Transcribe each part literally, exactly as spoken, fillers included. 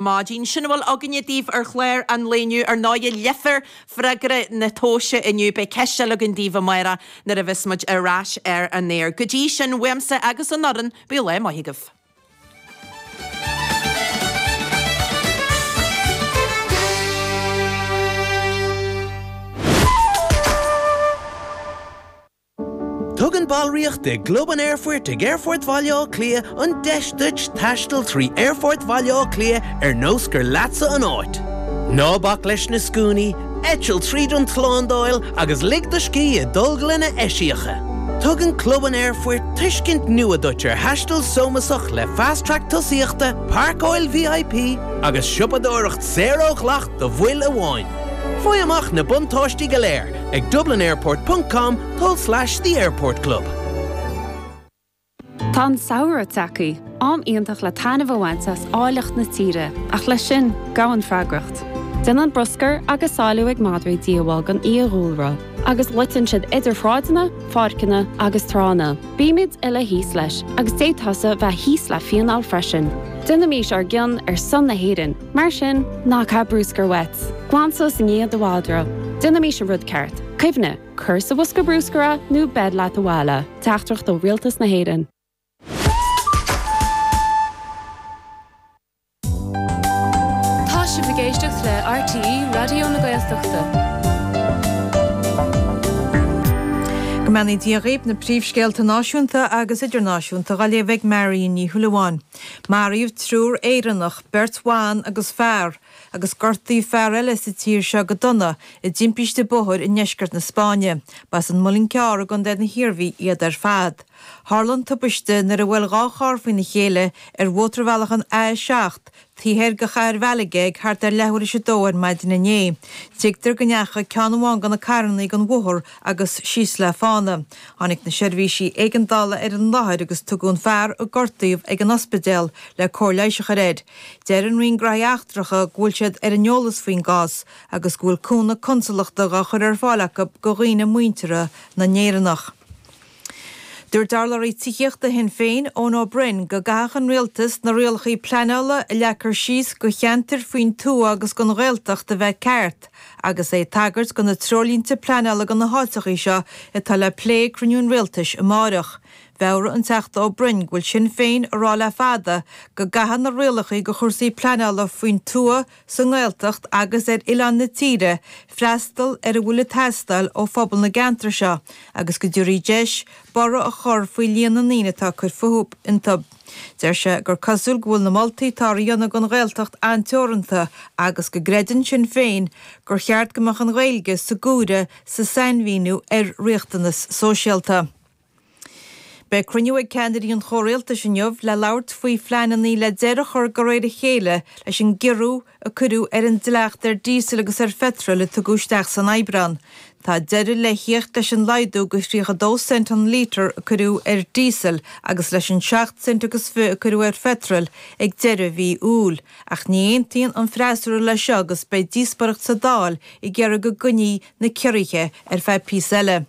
maidin. Sin a bhfuil againne daoibh ar chlár an lae inniu. Ar ndóigh, léifear freagra na tomhaise inniu. Beidh ceist eile againn daoibh amárach nuair a bheas muid ar ais ar an aer. Go dtí sin, uaimse agus an fhoireann, bíodh lá maith agaibh. Tugann ballraíocht i gClub an Aerfoirt ag Aerfort Bhaile Átha Cliath an deis duit taisteal trí Aerfort Bhaile Átha Cliath ar nós gur leatsa an áit. Ná bac leis na scuainí, eitil tríd an tslándáil agus lig do scíth i dtolglanna eisiacha. Tugann Club an Aerfoirt tuiscint nua duit ar thaisteal sómasach le Fast Track tosaíochta, páirceáil VIP agus siopadóireacht saor ó dhleacht do bhaill amháin. Faigh amach na buntáistí go léir ag dublinairport ponc com tulslais The Airport Club. Tá an samhradh tagtha, am iontach le taitneamh a bhaint as áilleacht na tíre, ach leis sin, gabhann freagracht. Déanann bruscar agus sáiliú ag madraí díobháil don fhiadhúlra, agus loiteann siad idir shráideanna, pháirceanna agus tránna. Bímid uile thíos leis, agus d'fhéadfadh tusa bheith thíos le fíneáil freisin. Déanaimís ár gcion ar son na hÉireann, mar sin, ná caith bruscar uait. Glan suas i ndiaidh do mhadra. Déanaimís an rud ceart. Cuimhnigh, cuir sa bhosca bruscair é nó beir leat abhaile. Teachtaireacht ó Rialtas na hÉireann. Tá sibh ag éisteacht le RTÉ Raidió na Gaeltachta. Go mbeannaí Dia dhaoibh, na príomhscéalta náisiúnta agus idirnáisiúnta á léamh ag Marion Ní Shúilleabháin. Maraíodh triúr Éireannach, beirt bhan agus fear, agus gortaíodh fear eile sa tír seo go dona i dtimpiste bóthair i ndeisceart na Spáinne. Ba as an Muileann Cearr i gContae na hIarmhí iad ar fad. Tharla an tubaiste nuair a bhuail dhá charr faoina chéile ar mhótarbhealach an A a seacht taobh thoir de chathair Mhalaga ag thart ar leathuair théis a dó ar maidin inné. Tuigtear go ndeachaigh ceann amháin de na carrannaí den bhóthar agus síos le fána. Tháinig na seirbhísí éigeandála ar an láthair agus tugadh an fear a gortaíodh ag an ospidéal le cóir leighis a chur air. Deir an Roinn Gnóthaí Eachtracha go bhfuil siad ar an eolas faoin gcás agus go bhfuil cúnamh consalachta dhá chur ar fáil acu do dhaoine muinteartha na nÉireannach. Dúirt urlabhraí tithíochta Shinn Féin, Eoin Ó Broin, go gcaithfeadh an rialtas na rialacha pleanála a leagtar síos do cheantair faoin tuath agus don Ghaeltacht a bheith ceart, agus é ag tagairt do na treoirlínte pleanála do na háiteachaí seo atá le plé ag cruinniú an rialtais amáireach. Mheabhraigh an Teachta Ó Broin go bhfuil Sinn Féin ag rá le fada go gcaithfidh na rialacha do chúrsaí pleanála faoin tuath, sa nGaeltacht agus ar oileáin na tíre freastal ar a bhfuil ag teastáil ó phobal na gceantar seo agus go dtabharfaí deis borradh a chur faoi líon na ndaoine atá ag cur fúthu iontu. Deir sé gur cosúil go bhfuil na moltaí atá á dhéanamh don Ghaeltacht an-teoranta agus go gcreideann Sinn Féin gur cheart go mbeadh an Ghaeilge sa gcomhaireamh sa sainmhíniú ar riachtanas sóisialta. Beidh cruinniú ag ceannairí an chomhrialtais inniu le labhairt faoi phleananna le deireadh a chur de réir a chéile leis an gciorrú a cuireadh ar an dleacht ar dhíosal agus ar pheitreal a tugadh isteach san Aibreán. Tá deireadh le theacht leis an laghdú go tríocha dó cent an lítear a cuireadh ar dhíosal agus leis an seacht cent agus fiche a cuireadh ar pheitreal ag deireadh mhí Iúil. Ach ní aontaíonn an freasúra leis seo agus beidh díospóireacht sa Dáil ag iarraidh go gcoinneofaí na ciorruithe ar feadh píosa eile.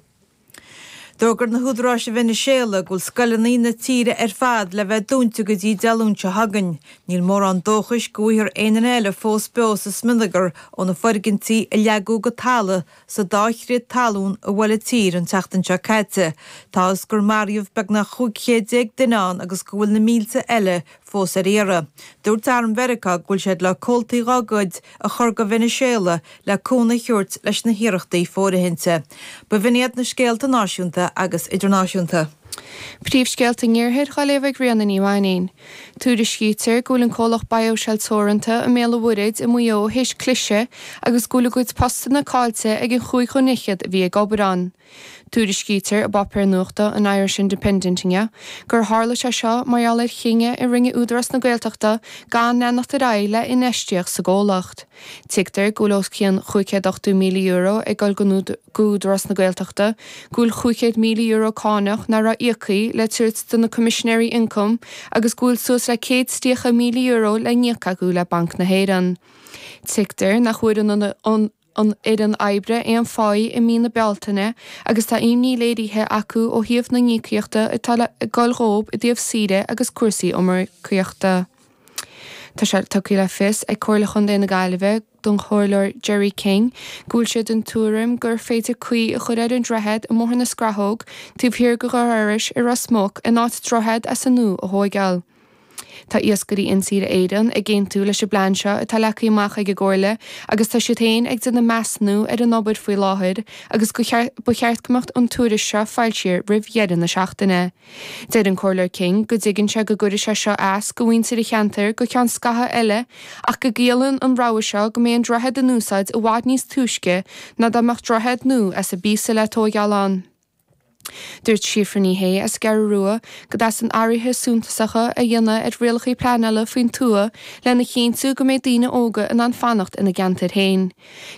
D'fhógair na húdaráis i Veiniséala go bhfuil scoileanna na tíre ar fad le bheith dúnta go dtí Dé Luain seo chugainn. Níl mórán dóchais go bhfaighfear aon duine eile fós beo sa smionagar ó na foirgintí a leagadh go talamh sa dá chrith talún a bhuail an tír an tseachtain seo caite. Tá fhios gur maraíodh beagnach chúig chéad déag duine ann agus go bhfuil na mílte eile fós ar iarraidh. Dúirt Arm Mheiriceá go bhfuil siad le comhaltaí dhá gcuid a chur go Veiniséala le cúnamh a thabhairt leis na hiarrachtaí fóirithinte. B'in iad na scéalta náisiúnta agus idirnáisiúnta. Príomhscéalta an Iarthair á léamh ag Ríona Ní Mhainín. Tuairiscítear go bhfuil an comhlacht BioShell Teoranta i mBéal an Mhuirthead i Maigh Eo théis cliseadh agus go bhfuil a gcuid postanna caillte ag an chúig dhuine fhichead a bhí ag obair ann. Tuairiscítear i bpáipéar nuachta an Irish Independent inniu gur tharla sé seo mar gheall ar chinneadh a rinne Údarás na Gaeltachta gan leanacht ar aghaidh le infheistíocht sa gcomhlacht. Tuigtear go bhfuil os cionn chúig chéad ochtó míle euro ag dul go Údarás na Gaeltachta, go bhfuil chúig chéad míle euro cánach nach raibh íoctha le tabhairt do na Coimisinéirí Ioncaim agus go bhfuil suas le céad is tríocha míle euro le n-íoc acu le Banc na hÉireann. Tuigtear nach bhfuair an an fhoireann oibre aon pháí i mí na Bealtaine agus tá imní léirithe acu ó thaobh na n-íocaíochta atá le dul dhóibh i dtaobh saoire agus cúrsaí iomarcaíochta. Tá sé tugtha le fios ag Comhairle Chontae na Gaillimhe don Chomhairleoir Gerry King go bhfuil sé den tuairim gur féidir caoi a chur ar an droichead i mBóthar na Scrathóg taobh thiar de Dhoire Iorrais i Ros Muc in áit droichead as an nua a thóigeáil. Tá Iascairí Intíre Éireann ag aontú leis an bplean seo atá leagtha amach ag an gComhairle agus tá siad féin ag déanamh measúnú ar an obair faoi láthair agus go ba cheart go mbeadh an tuairisc seo foilsithe roimh dheireadh na seachtaine. Deir an Comhairleoir King go dtuigeann sé go gcuirfidh sé seo as do mhuintir an cheantair go ceann scaithimh eile ach go gciallaíonn an rogha seo go mbeidh an droichead in úsáid i bhfad níos túisce ná dá mbeadh droichead nua as an bpíosa le tóigeáil ann. Dúirt Síofra Ní Shé as an gCeathrú Rua go dteastaíonn athruithe suntasacha a dhéanamh ar rialacha pleanála faoin tuath lena chinntiú go mbeidh daoine óga in ann fanacht ina gceantar féin.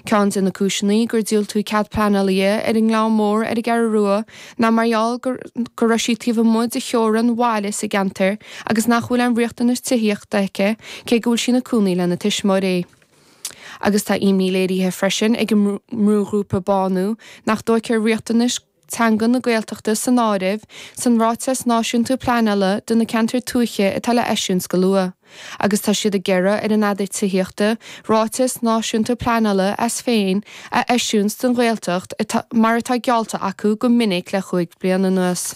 Ceann de na cúiseanna gur diúltaíodh cead pleanála di ar an nGleann Mór ar an gCeathrú Rua ná mar gheall go raibh sí taobh amuigh de theorainn bhaile sa gceantar agus nach bhfuil aon riachtanas tithíochta aici cé go bhfuil sí ina cónaí lena tuismitheoirí. Agus tá imní léirithe freisin ag an mbrúghrúpa Bánú nach dtógfar riachtanais teanga na Gaeltachta san áireamh san ráiteas náisiúnta pleanála do na ceantair tuaithe atá le eisiúint go luath, agus tá siad ag iarraidh ar an Aire Tithíochta ráiteas náisiúnta pleanála as féin a eisiúint don Ghaeltacht mar atá geallta acu go minic le cúig bliana anuas.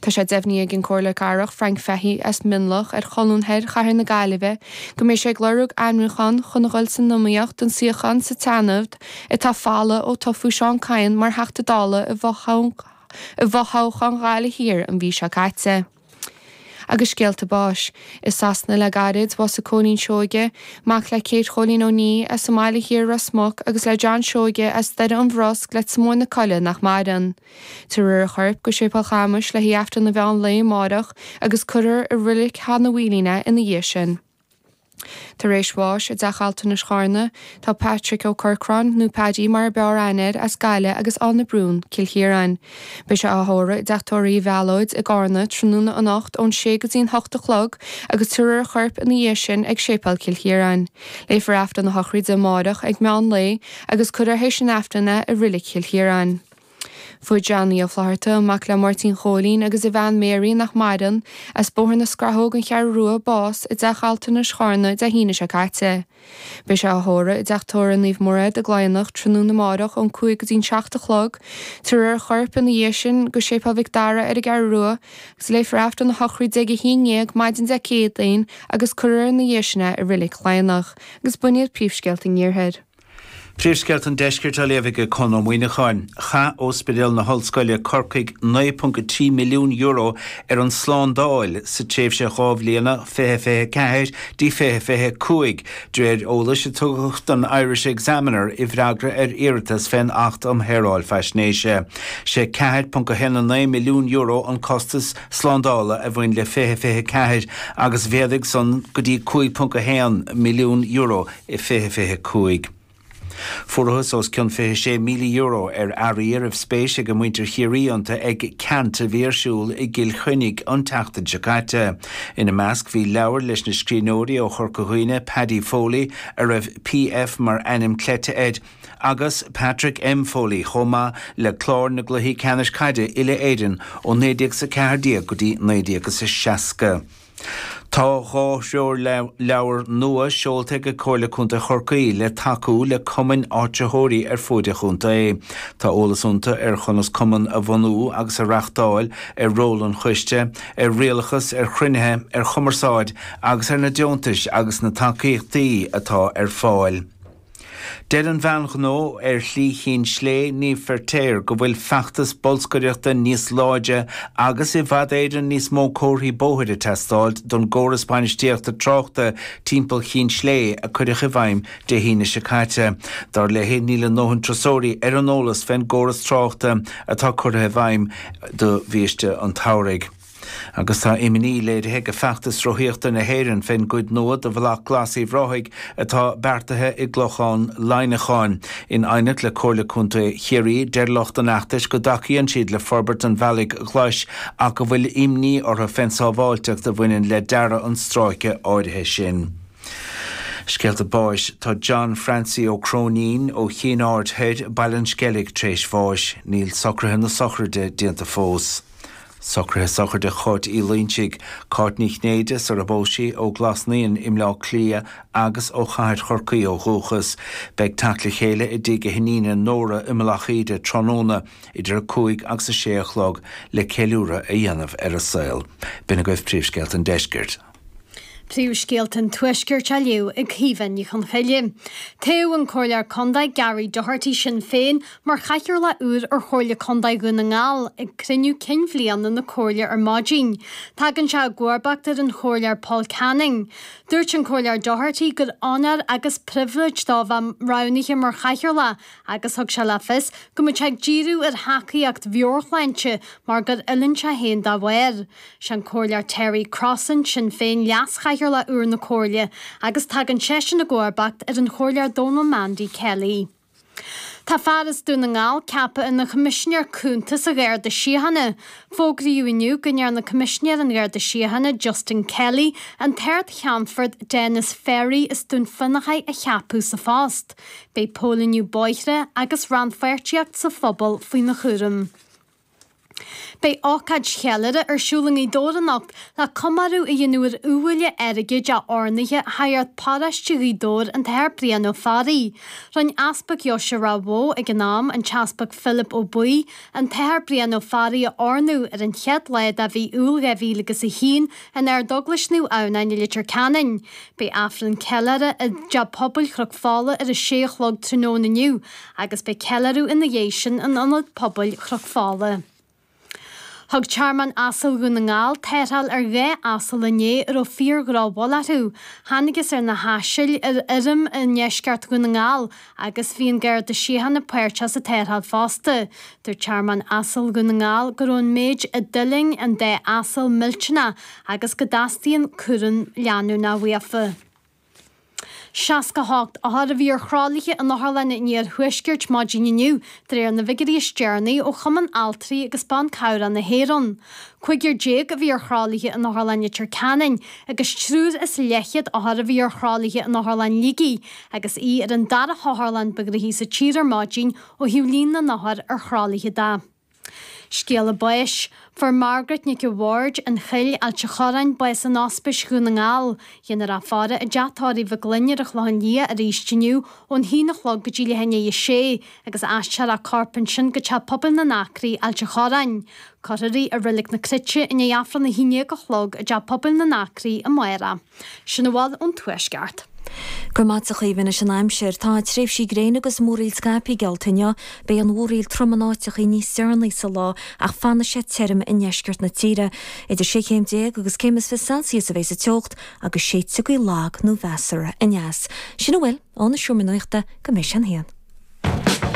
Tá sé deimhnithe ag an Comhairleoir Cathrach Frank Fahey as Mionlach ar Cholún Thoir Chathair na Gaillimhe go mbeidh sé ag lorg ainmniúchán chun a dhul san iomaíocht don suíochán sa tSeanad atá folamh ó toghadh Seán Kyne mar Theachta Dála i bhfothoghchán Ghaillimh Thiar an mhí seo caite. Agus scéalta báis. I Sasana le gairid, bhásaigh Cóilín Seoige, mac le Kate Chóilín Ó Ní as an mBaile Thiar Ros Muc agus le John Seoige as Doire an Bhrosc Leitir Móir na Coille nach maireann. Tabharfar a chorp go Séipéal Chamuis le haghaidh Aifreann an mheán lae amárach agus cuirfear i Reilig Sheán Uí Mhaoilín é ina dhiaidh sin. Tar éis bháis i dTeach Altranais Charna, tá Patrick Ó Corcráin, nó Paddy mar ab fhearr aithne air, as Gaillimh agus Áine Brún, Cill Chiaráin. Beidh sé á thórramh i dTeach Tórraimh Uí Mhealóid i gCarna tráthnóna anocht ón sé go dtí'n hocht a chlog agus tabharfar a chorp ina dhiaidh sin ag Séipéal Chill Chiaráin. Léifear Aifreann a shochraide amárach ag meán lae agus cuirfear théis an Aifrinn é i Reilig Chill Chiaráin. Fuair Johnny Ó Flatharta, mac le Máirtín Chóilín agus a bhean Mary nach maireann, as Bóthar na Scrathóg an Cheathrú Rua bás i dTeach Altranais Charna Dé hAoine seo caite. Beidh sé á thórramh i dTeach Tórraimh Naomh Mairéad i gCladhnach tráthnóna amárach ón cúig go dtí'n seacht a chlog, tabharfar a chorp ina dhiaidh sin go Séipéal Mhic Dara ar an gCeathrú Rua agus léifear Aifreann a shochraide ag a haon déag maidin Dé Céadaoin agus cuirfear ina dhiaidh sin é i Reilig Chladhnach. Agus b'in iad príomhscéalta an Iarthair. Príomhscéalta an Deiscirt á léamh ag Conn Ó Muíneacháin. Chaith Ospidéal na hOllscoile Corcaigh naoi ponc a trí milliún euro ar an slándáil sa tréimhse dhá bhliana, fiche fiche ceathair dtí fiche fiche cúig, de réir eolais a tugadh don Irish Examiner i bhfreagra ar iarratas fén Acht um Shaoráil Faisnéise. Sé ceathair ponc a haon a naoi milliún euro an costas slándála a bhain le fiche fiche ceathair agus mhéadaigh san go dtí cúig ponc a haon milliún euro i fiche fiche cúig. Fuarthas os cionn fiche sé míle euro ar earraí a raibh spéis ag muintir Chiarraí iontu ag ceant a bhí ar siúl i gCill Chainnigh an tseachtain seo caite. Ina measc bhí leabhair leis na scríbhneoirí ó Chorca Dhuibhne, Paddy Foley, a raibh P.F. mar ainm cleite air, agus Patrick M. Foley chomh maith le clár na gcluichí ceannais caide uile-Éireann ó naoi déag is a ceathair déag go dtí naoi déag is a seasca. Tá dhá threoirleabhar nua seolta ag Comhairle Contae Chorcaí le tacú le cumainn áitritheoirí ar fuaid an chontae. Tá eolas iontu ar chonas cumann a bhunú agus a reáchtáil, ar ról an choiste, ar rialachas, ar chruinnithe, ar chumarsáid agus ar na deontais agus na tacaíochtaí atá ar fáil. Deir an bhean ghnó ar Shlí Chinn Slé, Niamh Feirtéar, go bhfuil feachtas bolscaireachta níos láidre agus i bhfad Éireann níos mó comharthaí bóthair ag teastáil don gcóras bainistíochta tráchta timpeall Chinn Slé a cuireadh i bhfeidhm Dé hAoine seo caite. Dar léi, níl a ndóthain turasóirí ar an eolas fén gcóras tráchta atá curtha i bhfeidhm do bhiaiste an tsamhraidh. Agus tá imní léirithe ag Feachtas Rothaíochta na hÉireann fén gcuid nua de Bhealach Glas Uíbh Ráthaigh atá beartaithe i gClochán Laighneacháin. In aighneacht le Comhairle Contae Chiarraí, deir lucht an fheachtais go dtacaíonn siad le forbairt an bhealaigh ghlais ach go bhfuil imní orthu fén sábháilteacht a bhaineann le dearadh an stráice áirithe sin. Scéalta báis, Tá John Francie Ó Cróinín ó Chinn Aird Thoir, Baile an Sceilg, tar éis bháis. Níl socruithe na sochraide déanta fós. Socruithe sochraide Cháit Uí Loinsigh, Cáit Ní Chinnéide sar a bpós sí ó Ghlas Naíon i mBleá Cliath agus ó Chathair Chorcaí ó dhúchas. Beidh teacht le chéile i dtigh a hiníne Nóra i Mullach Íde tráthnóna idir a cúig agus a sé a chlog le ceiliúradh a dhéanamh ar a saol. B'in agaibh príomhscéalta an deiscirt. Príomhscéalta an Tuaiscirt á léamh ag Caoimhe Ní Chonchoille. Toghadh an Comhairleoir Contae Gary Doherty Sinn Féin mar chathaoirleach úr ar Chomhairle Contae Dhún na nGall ag cruinniú cinn bhliana na Comhairle ar maidin. Tagann sé i gcomharbacht ar an Chomhairleoir Paul Canning. Dúirt an Comhairleoir Doherty gur onóir agus pribhléid dó bheith roghnaithe mar chathaoirleach agus thug sé le fios go mbeadh sé ag díriú ar thacaíocht mheabhairshláinte mar gur fhulaing sé féin dá bharr. Sé an Comhairleoir Terry Crossan, Sinn Féin, leas-chathaoirleach úr na Comhairle agus tagann seisean i gcomharbacht ar an Chomhairleoir Dónal Mandy Kelly. Tá fear as Dún na nGall ceaptha ina Choimisinéir Cúnta sa Gharda Síochána. Fógraíodh inniu go ndearna Coimisinéir an Gharda Síochána Justin Kelly an tArd-Cheannfort Denis Ferry as Dún Fionnachaidh a cheapadh sa phost. Beidh póilíniú bóithre agus rannpháirtíocht sa phobal faoina chúram. Beidh ócáid cheiliúrtha ar siúl i nGaoth Dobhair anocht le comóradh a dhéanamh ar iubhaile airgid a oirnithe shagart paróiste Ghaoth Dobhair an tAthair Brian Ó Fearraigh. Rinne Easpag Dheoise Ráth Bhoth ag an am, an tEaspag Philip Ó Baoigh, an tAthair Brian Ó Fearraigh a oirniú ar an chéad lá de mhí Iúil dhá mhíle agus a haon in Ardeaglais Naomh Adhamhnáin i Leitir Ceanainn. Beidh Aifreann ceiliúrtha i dTeach Pobail Chnoc Fola ar a sé a chlog tráthnóna inniu agus beidh ceiliúradh ina dhiaidh sin in Ionad Pobail Chnoc Fola. Thug Tearmann Asal Dhún na nGall tarrtháil ar dhá asal inné a raibh fíor-dhrochbhail orthu. Thángthas ar na hasail ar fheirm i ndeisceart Dhún na nGall agus bhí an Garda Síochána páirteach sa tarrtháil fosta. Dúirt Tearmann Asal Dhún na nGall go raibh an méid a d'fhulaing an dá asal millteanach agus go dteastaíonn cúram leanúnach uafa. seasca a hocht othar a bhí ar thralaithe in Otharlann an Iarthuaiscirt maidin inniu, de réir na bhfigiúirí is deireanaí ó Chumann Altraí agus Ban Cabhrach na hÉireann. Cúigear déag a bhí ar thralaithe in Otharlann Leitir Ceanainn agus triúr is leathchéad othar a bhí ar thralaithe in Otharlann Shligigh agus í ar an dara hotharlann ba ghnoithí sa tír ar maidin ó thaobh líon na n-othar ar thralaithe de. Scéala báis. Fuair Margaret Nic a' Bhaird, An Chill, Ailt a' Chorráin, bás in Ospís Dhún na nGall. Dhéanfar í a faire i dteach tórraimh Mhic Gloinn ar an Chlochán Liath arís inniu ón haon a chlog go dtí leath i ndiaidh a sé agus aistreofar a corp ansin go Teach Pobail na nAcraí, Ailt a' Chorráin. Cuirfear í i Reilig na Cruite i ndiaidh Aifreann a haon déag a chlog i dTeach Pobail na nAcraí amárach. Sin a bhfuil ón Tuaisceart. Go raibh maith agat a Chaoimhe. Anois an aimsir. Tá tréimhsí gréine agus múraíl scaipthe geallta inniu. Beidh an mhúraíl trom in áiteachaí níos deireanaí sa lá ach fanfaidh sé tirim i ndeisceart na tíre. Idir sé chéim déag agus céim is fiche Celsius a bheidh sa teocht agus séidfidh gaoth lag nó mheasartha aneas. Sin a bhfuil ó na Seomra Nuachta go mbeidh sé an haon.